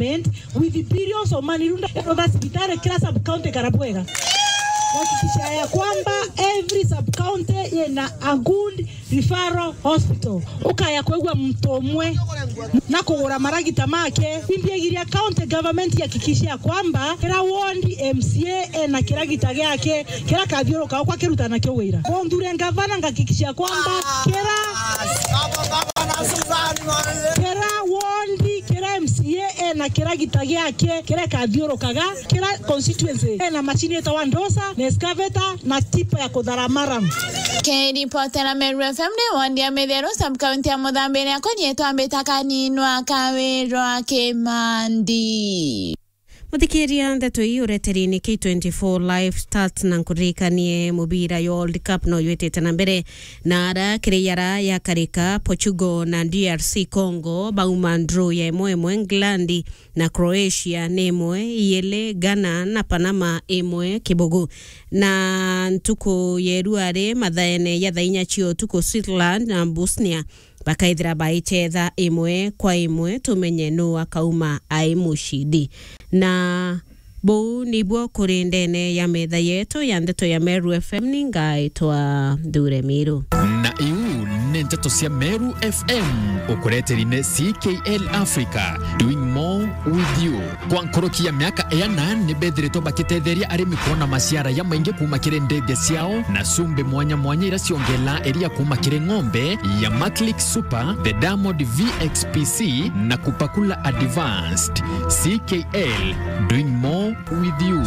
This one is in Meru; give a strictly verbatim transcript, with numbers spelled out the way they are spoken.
government with billions of money, runda rotha cibitari kila sub county Karabuega. Kuhakikisha ya kwamba every sub county ina a good referral hospital. Ukaya kwigua muntu umwe na kugura maragita make. Imbiagiria county government ihakikishe ya kwamba kila ward M C A ena kiragita giake kira kathiuruka ukwa kiruta nakio wira. Undure ngavana ngakikisha kwamba kira kira ward, kira M C A ena kiragita giake kira kathiurukaga, kira constituency ena machine itawa dozer na excavator na tipa ya kuthara maram. Kiripotera Meru F M ni ward ya Mitheru, sub county ya Muthambi, ni akonyetwa mbita kaninwa Kawirwa Kimandi. Muthikiria, ndeto ii ureteri ni K twenty-four Live Stats, na nkuririkanie mubira ya World Cup no yitite na mbere, na ara kiri yara yakarika, Portugal na D R C Congo bauma draw ya imwe imwe, England na Croatia ni imwe iyiri, Ghana na Panama imwe kibugu. Na ntuku ya iruari mathaene ya thaa inya cia utuku, Switzerland na Bosnia bakaithira baichetha imwe kwa imwe, tumenye nuu akauma ai mucindi. Na buu nibwo kuri ndene ya metha yetu ya ndeto ya Meru F M, ni ngaitwa Nthure Miru. Na iu ni ndeto cia Meru F M, ukureteri ni C K L Africa, doing more with you. Kwa nkuruki ya miaka iana, ni bethiritwe bakitetheria arimi kwona maciara jamaingi kuuma kiri ndege ciao na cumbi mwanya mwanya iria ciongelaa iria kuuma kiri ng'ombe ya Maclick Super, the Diamond V X P C na Kupakula Advanced. C K L, doing more with you.